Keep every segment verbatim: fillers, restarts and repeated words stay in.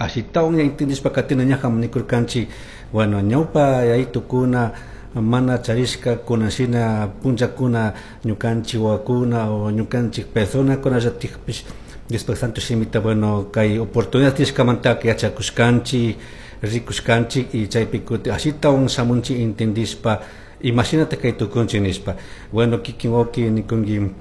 Ashitawan intindishpa katina ñajan nikurkanchik, bueno, ñawpa yayitukuna mana charishka kunashina punllakuna ñukanchik wawakuna o ñukanchik personakunallatikpish Diospak santo shimita, bueno, kay oportunidad tiyashkamantaka yachakushkanchik, rikushkanchik y chaypi kuti ashitawan shamunchik intindishpa imashinata kay tukunchik nishpa. Bueno, kikin wawki nikunki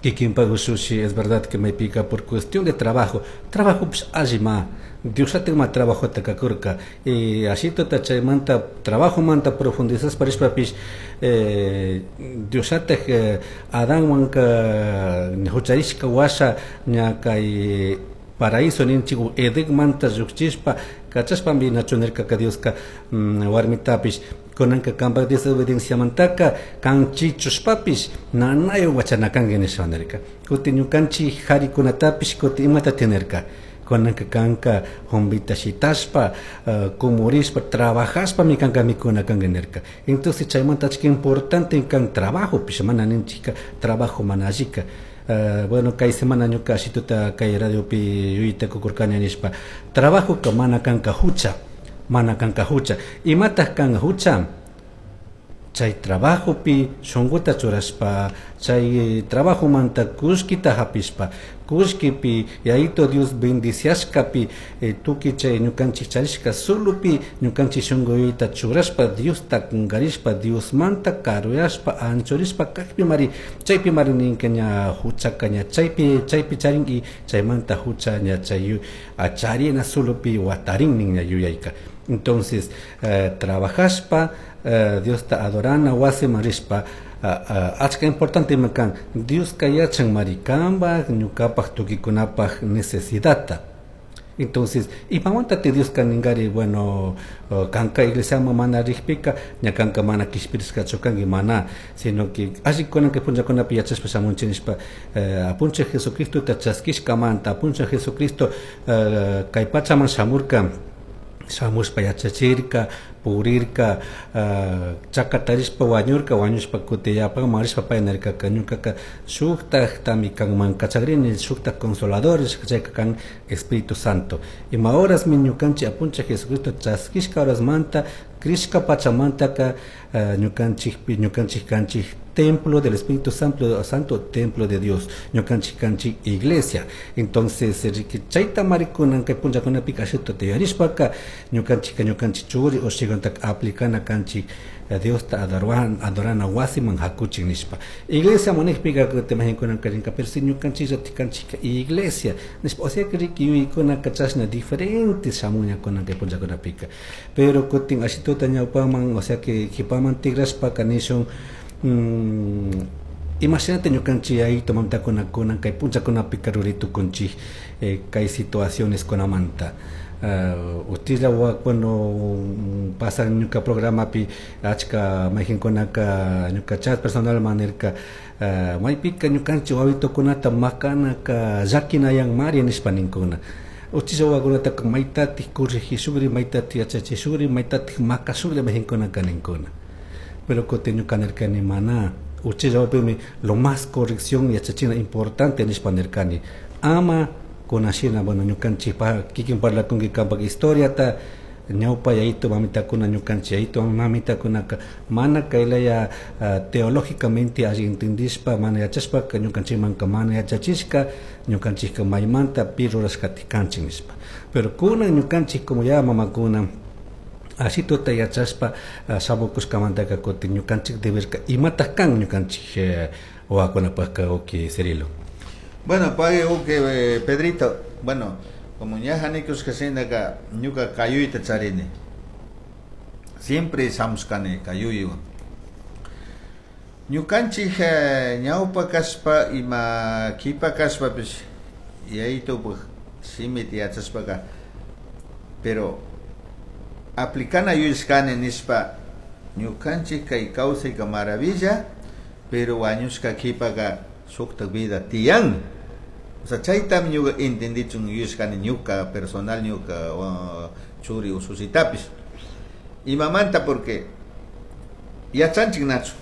kikinpak ushushi, es verdad que maypika por cuestión de trabajo, trabajopish allima, Diosllatik ma trabajota kakurka y ashituta chaymanta trabajomanta profundizashpa rishpapish eh, Diosllatik eh, Adanwanka hucharishka washa ña kay paraíso ninchik Edenmanta llukchishpa kachashpami nachu nirkaka Dioska mm, warmitapish kunanka kanpak desobedienciamantaka kan chichushpapish nanayo wachana kanki nishpa nirka. Kutin ñukanchik jarikunatapish kutin imata nirka, kunanka kanka jumbita shitashpa uh, kumurishpa trabajashpami kanka mikuna kanki nirka. Entonces chaymanta achka importante kan trabajopish, mana ninchika trabajo mana allika. Uh, bueno, kay semana ñuka ashituta kay radiopi yuyayta kukurkani nishpa trabajoka mana kanka hucha, mana kanka hucha. Imataj kan hucha? Chay trabajopi shunkuta churashpa, chay trabajomanta kullkita hapishpa, kullkipi Yayito Dios bendiciashkapi eh, tukuy chay ñukanchik charishka sulupi ñukanchik shunkuyta churashpa Diosta kunkarishpa Diosmanta karuyashpa anchurishpa kakpi mari chaypi mari ninka ña huchaka ña chaypi chaypi charin y chaymanta hucha ña chay charina sulupi watarin nin ña yuyayka. Entonces eh, trabajashpa eh, Diosta adorana wasiman rishpa uh, uh, achka importante kan Dioska yachan mari kanpak ñukapak tukuykunapak necesidadta. Entonces imamanta Dioska ninkari, bueno, uh, kanka iglesiaman mana rikpika ña kanka mana kishpirishkachu kanki, mana, sino que alli kunanka punllakunapi yachashpa shamunchik nishpa uh, apunchik Jesucristota chaskishkamanta apunchik Jesucristo uh, kay pachaman shamurka, shamushpa yachachirka, purirka, uh, chakatarishpa wañurka, wañushpa kutin yapaman rishpa pay nirkaka ñukaka shuktaktami kanman kachagrini, shuktak consoladores, chayka kan Espíritu Santo. Ima horasmi ñukanchik apunchik Jesucristo chaskishka horasmanta crishka pachamantaka uh, ñukanchik ñukanchik kanchik templo del Espíritu Santo, Santo templo de Dios, ñukanchik kanchik iglesia. Entonces riki chayta marikunan kay punllakunapika ashituta tiyarishpaka ñukanchika ñukanchik churi ushikunataka aplicana kanchik Diosta adoran, adorana wasiman hakuchik nishpa. Iglesia manikpika kutin mahinkunaka rinka, pero si ñukanchikllatik kanchika iglesia nishpa, o sea que riki yuyaykunaka chashna diferente shamuñakuna kay punllakunapika. Pero kutin ashituta ñawpaman, o sea que kipaman tigrashpaka nishun mm, imashinata ñukanchik yayito mamitakuna kunan kay punllakunapika ruray tukunchik eh, kay situaciones kunamanta. Uh, utilla bueno pasan ñuka programapi achka mayjinkunaka ñuka chat personal manirka uh, maypika ñukanchik wawitukunata makanaka llakinayan mari nishpa ninkuna. Uchilla wawakunataka maytatik corregishukri, maytatik yachachishukri, maytatik makashukri mayjinkunaka ninkuna. Pero kutin ñuka nirkani mana, uchilla wawapimi lo más corrección yachachina importante nishpa nirkani. Ama kunashina, bueno, ñukanchik pa kikin parlakunki kanpak historiata ñawpa yayito mamitakuna ñukanchik yayito mamitakunaka mana kaylaya uh, teológicamente alli entendishpa mana yachashpaka ñukanchikmanka mana yachachishka ñukanchikka maymanta pi rurashkatik kanchik nishpa. Pero kunan ñukanchik como ya mamakuna ashituta yachashpa uh, shamukushkamantaka kutin ñukanchik deberka imatak kan ñukanchik eh, wawakunapakka uki Cirilo. Bueno, pague uke eh, Pedrito, bueno, como ña hanikushka ñuka kayuyta charini. Siempre shamushkani kayuywan. Ñukanchik eh, ñawpa kashpa ima kipa kashpapish yayitupak shimita yachashpaka, pero aplicana yuyashkani nishpa ñukanchik kay kawsayka maravilla, pero wañushka kipaka shuktak vida tiyan. O sea, chaytami ñuka entendichun yuyashkani ñuka personal ñuka uh, churi ususitapish. Imamanta porque yachanchik nachu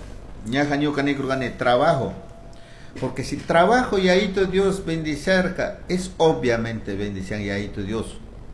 ñaja ñuka nikurkani trabajo, porque si trabajo yayito Dios bendicerca, es obviamente bendición yayito Dios.